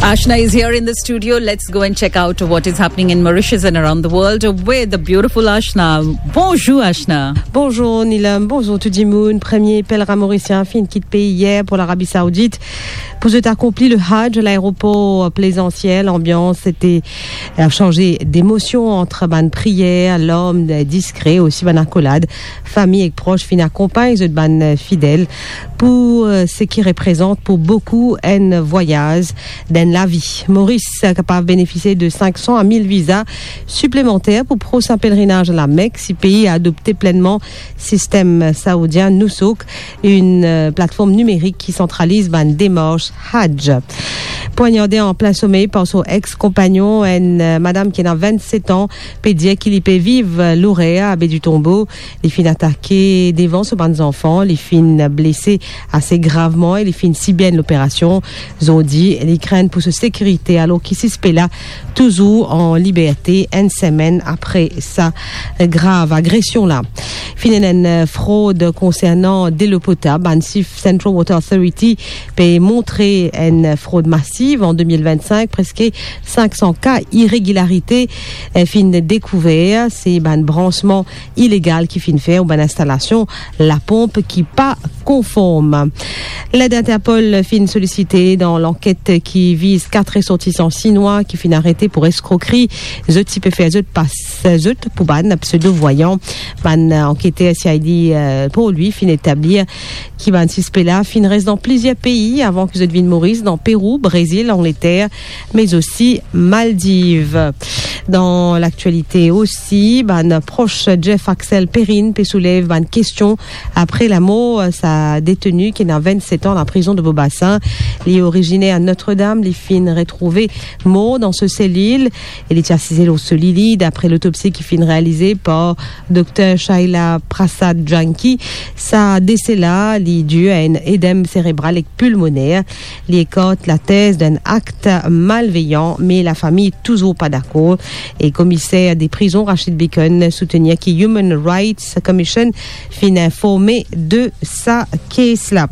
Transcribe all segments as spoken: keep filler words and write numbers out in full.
Ashna is here in the studio. Let's go and check out what is happening in Mauritius and around the world with the beautiful Ashna. Bonjour, Ashna. Bonjour, Neelam. Bonjour, tou dimoun. Premie pelrin morisien finn kit pei yer pou Larabi Saoudit. Pou zot akonpli le Hajj, laeropor Plaisance, lanbians ti, euh, sharze demosion ant bann priyer, larm, diskre, osi bann akolad. Fami ek pros finn akonpagn zot bann fidel pou, euh, seki reprezant pou boukou enn vwayaz dan lavi. Moris kapav benefisie de sink san a mil viza siplemanter pou prosin pelerinaz Lamek si pei adopte plennman sistem saoudien Nusuk, enn, euh, platform nimerik ki santraliz bann demars Hajj. Pwagnarde an plin somey par so ex-konpagnon, enn, euh, madam ki ena vennset an, pe dir ki li pe viv, euh, Lorer, Baie du Tombeau. Li finn atake devan so bann zanfan, li finn blese ase gravman e li finn sibir enn loperasion. Zordi, li krenn pou so sekirite, alor ki sispe la touzour an liberte enn semenn apre sa grav agresion la. Finn ena enn frod konsernan delo potab. Bann sif Central Water Authority pe montre enn frod masiv an de mil vennsink, preske sink san ka iregilarite, eh, finn dekouver. Se bann bransman ilegal ki finn fer ou bann instalasion laponp ki pa konform. Led Interpol finn solisite dan lanket ki viz kat resortisan sinwa ki finn arete pou eskrokri. Zot ti pe fer zot pas zot pou bann pseudo-voyant. Bann anketer C I D, euh, pou li finn etablir ki bann sispe la finn res dan plizier pei avan ki zot vinn Moris, dan Perou, Brezil, Angleter, me osi Maldiv. Dan laktialite osi, bann pros Jeff Axel Perrine pe soulev bann kestion apre lamor sa deteni ki ena vennset an dan prizon de Beau-Bassin. Li oriziner Notre-Dame, li finn retrouve mor dan so selil e li ti asize lor so lili, dapre lotopsi ki finn realize par Dokter Shaila Prasad Janki. Sa dese la, li dir a enn edem serebral ek pulmoner. Li ekart latez d'enn akt malveyan, me lafami touzour pa dakor. E komiser de prizon Rashid Bacon soutenir ki Human Rights Commission finn informe de sa kes la.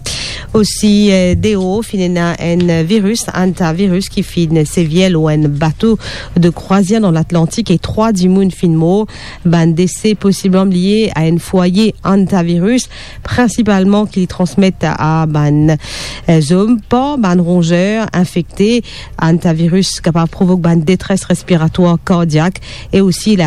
Osi, eh, deor finn ena enn viris, hantavirus, ki finn sevir lor enn bato de krwazir dan Latlantik e trwa dimoun finn mor. Bann dese posibleman lie a enn fwaye hantavirus, prinsipalman ki li transmet a bann, eh, zom par bann ronzer infekte. Hantavirus kapav provok bann detres respiratwar, kardiak e osi la